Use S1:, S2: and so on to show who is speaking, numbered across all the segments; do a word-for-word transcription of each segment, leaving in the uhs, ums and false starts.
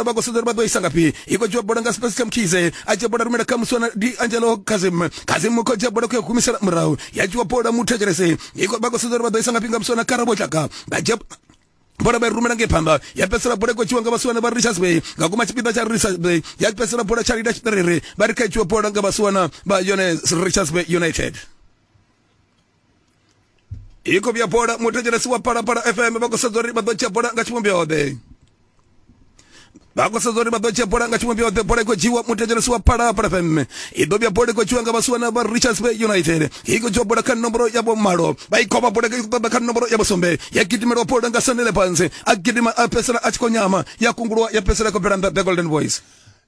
S1: Vha khou sedza uri vha ḓo isa ngafhi. I khou dzhiwa bola nga Special Mkhize, a dzhia bola rumela kha Muswana Di Angelo Kazim. Kazim khou dzhia bola khou ya humisela murahu, ya dzhiwa bola muthetshelesi. Vha khou sedza uri vha ḓo isa ngafhi nga Muswana Karabo Tlaka. Vha dzhia bola vha i rumela ngei phanḓa, ya fhedzisela bola i khou dzhiwa nga vhasiwana vha Richards Bay nga kuma tshipiḓa tsha Richards Bay, ya fhedzisela bola tsha lida tshiṱerere, vha ri kha dzhiwe bola nga vhasiwana vha yone Richards Bay United. I khou vhuya bola muthetshelesi wa Phalaphala F M, vha khou sedza uri vha ḓo dzhia bola nga tshivhumbeo ḓe. Vha khou sedza uri vha ḓo dzhia bola nga tshivhumbeo ḓe. Bola i khou dzhiwa muthetshelesi wa Phalaphala F M, i ḓo vhuya bola i khou dzhiwa nga vhasiwana vha Richards Bay United. I khou dzhiwa bola kha nomboro ya vhumalo, vha i kovha bola i khou ṱoḓa kha nomboro ya vhusumbe, ya gidimelwa bola nga Sanele Panzi, a gidima a fhedzisela a tshi khou nyama, ya kungulwa ya fhedzisela i khou bvela nnḓa the Golden Boys.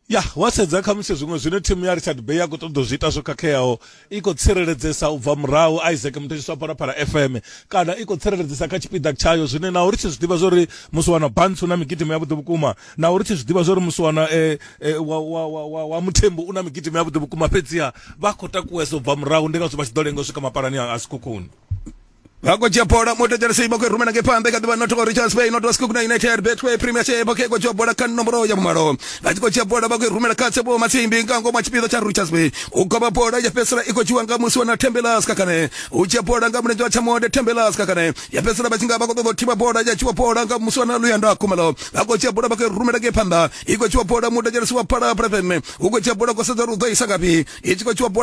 S2: Ya wa sedza khamusi zwiṅwe zwine thimu ya Richard Bay ya khou ṱoḓa u zwi ita zwo khakheaho, i khou tsireledzesa u bva murahu Isaac muthetshelesi wa Phalaphala F M, kana i khou tsireledzesa kha tshipiḓa tshayo, zwine naho ri tshi zwi ḓivha zwori musi wana Bantsu na migidimo yavhuḓi vhukuma, naho ri tshi zwi ḓivha zwori musi wana eh, eh, wa, wa, wa, wa, wa Muthembu u na migidimo yavhuḓi vhukuma, fhedziha vha khou takuwesa u bva murahu, ndi ngazwo vha tshi ḓo lenga u swika mapalani a Sekhukhune.
S1: Vha khou dzhia bola muthetshelesi, vha khou i rumela ngei phanḓa kha ḓivha not Richards Bay not Sekhukhune United Betway Premiership. Vha khou dzhia bola kha nomboro ya vhumalo, vha tshi khou dzhia bola vha khou i rumela kha Tshepo Matsimbi nga ngomu tshipiḓa tsha Richards Bay. U govha bola ya fhedzisela i khou dzhiwa nga musi wana Thembela Skakane, u dzhia bola nga mulenzhe wa tshamonde Thembela Skakane, ya fhedzisela vha tshi nga vha khou ṱoḓa u thivha bola, ya dzhiwa bola nga musi wana Luyanda Khumalo. Vha khou dzhia bola vha khou i rumela ngei phanḓa, i khou dzhiwa bola muthetshelesi wa Phalaphala F M, u khou dzhia bola khou sedza uri u ḓo isa ngafhi, i tshi khou dzhiwa bola.